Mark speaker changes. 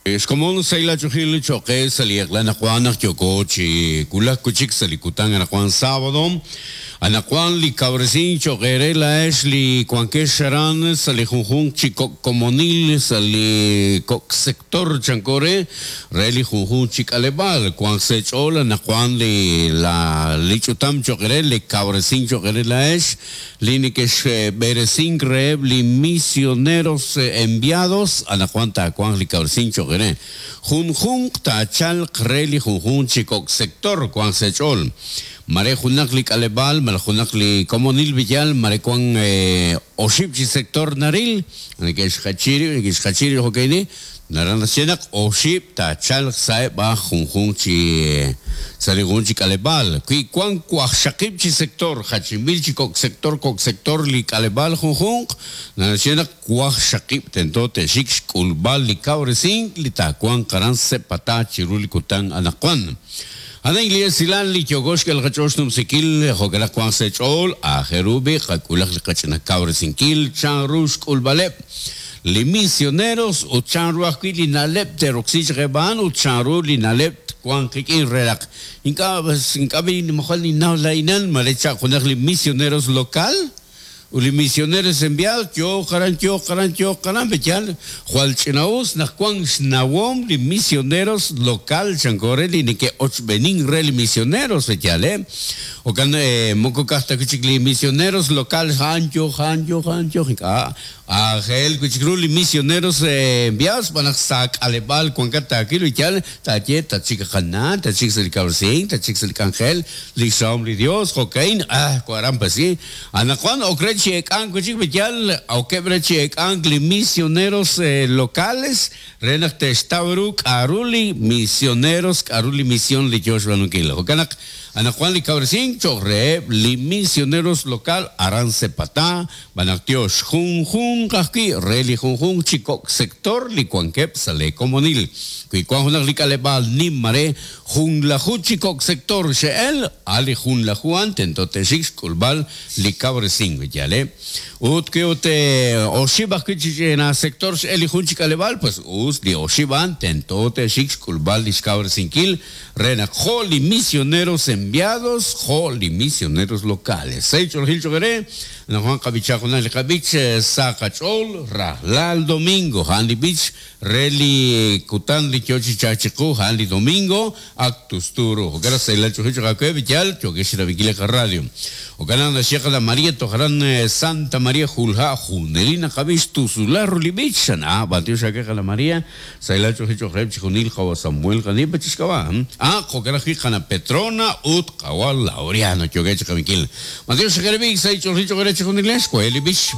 Speaker 1: Xkomon sahil ach'oolejil cho'q qe sa' li eq'la anaqwan naq yooko chi wulak wi' chik sa' li kutan anaqwan sábado. Anaqwan li kawresink cho'q eere laa'ex li wankex aran sa' li junjunq chi kok' komonil sa' li kok' sector chanko re, re li junjunq chi k'aleb'aal. Wanq sa' eech'ool anaqwan li la li ch'utam cho'q eere, li kawresink cho'q eere laa'ex Li nekexb'eresink reheb' li misioneros enviados, anaqwan taawanq li kawresink cho'q eere. Junjunq taachalq re li junjunq chi kok' sector wanq sa' eech'ool. Mare junaq li k'aleb'aal malaj junaq li komonil b'iyal mare wank oxib' chi sector naril, neke'xjachi rib', neke'xjachi rib' jo'ka'in li, Naraj naxye naq oxib' taachalq sa'eb' aj junjunq chi sa' li junjunq chi k'aleb'aal. Wi wank waqxaqib' chi sector, jachinb'il chi kok' sector kok' sector li k'aleb'aal junjunq, naraj naxye naq waqxaqib' tento te'xik xk'ulb'al li kawresink li taawanq aran Sepatá chiru li kutan anaqwan. A'an li esilal li yooko xk'el qach'ool xnumsinkil, jo'kan naq wanq sa' eech'ool, aajel ru b'i' qak'ulaq li qach'ina kawresinkil chanru xk'ulb'aleb' li misioneros ut chanru ajwi' li na'leb' te'roksi chaq eb' a'an ut chanru li na'leb' twanq qik'in re naq ink'a' ink'a' b'i' mojol ninnaw laa'inan mare chaq junaq li misioneros local ut li misioneros enviados yooq aran yooq aran yooq aran pe yaal jwal ch'ina'us naq wank xnawom li misioneros local chanko re li neke'ochb'eenink re li misioneros pe yaal e jo'kan moko ka'aj ta wi' chik li misioneros local a'an yooq a'an yooq a'an yooq ink'a' Aajel wi' chik ru li misioneros enviados xb'aan naq sa' k'aleb'aal wankat taawil wi yal taaye tatxik qana, tatxik sa' li kawresink, tatxik sa' li k'anjel, li xrahom li Dios, jo'ka'in, ah, waran pues sí. Anaqwan ok re chi eek'ank wi' chik wi yal okeb' re chi eek'ank li misioneros locales re naq te'xtaw ru k'a'ru li misioneros, k'a'ru li mision li yoo xb'aanunkil. Jo'kan naq anaqwan li kawresink cho'q reheb' li misioneros local aran Sepatá, Xb'aan naq tyox junjunq ajwi' re li junjunq chi kok' sector li wankeb' sa' lee komonil. Wi wan junaq li k'aleb'aal nim mare junlaju chi kok' sector xe'el, a' li junlaju a'an tento te'xik xk'ulb'al li kawresink wi yaal e. Ut wi ut oxib' ajwi' chi ch'ina sector x'el li jun chi k'aleb'aal, pues us li oxib' a'an tento te'xik xk'ulb'al li xkawresinkil re naq jo' li misioneros enviados jo' li misioneros locales. Sa' ch'oolejil choq' eere, anaqwan qab'ichaq junaq li qab'ich sa qach'ool rajlal domingo. A'an li b'ich re li kutan li yoo chi chalk chiqu, a'an li domingo ak tustu ru. Jo'kan naq sahilal ch'oolejil choq' aawe, b'iyal, yookex chirab'inkil li qaradio. Jo'kan naq naxye qana' Maria toj aran Santa Maria Julha' junelik naqab'i xtusulal ru li b'ich. Xan, ah, b'antiox aawe qana' Maria. Sahilal ch'oolejil cho'q reheb' chixjunil qawa' Samuel Qanipa chi xk'ab'a'. A Jo'kan ajwi' qana' Petrona ut qawa' Laureano yookeb' chi qab'inkil. Matiox xeqereb'ik, sahil ch'oolejil cho'q eere chixjunilex, wahe' li b'ich.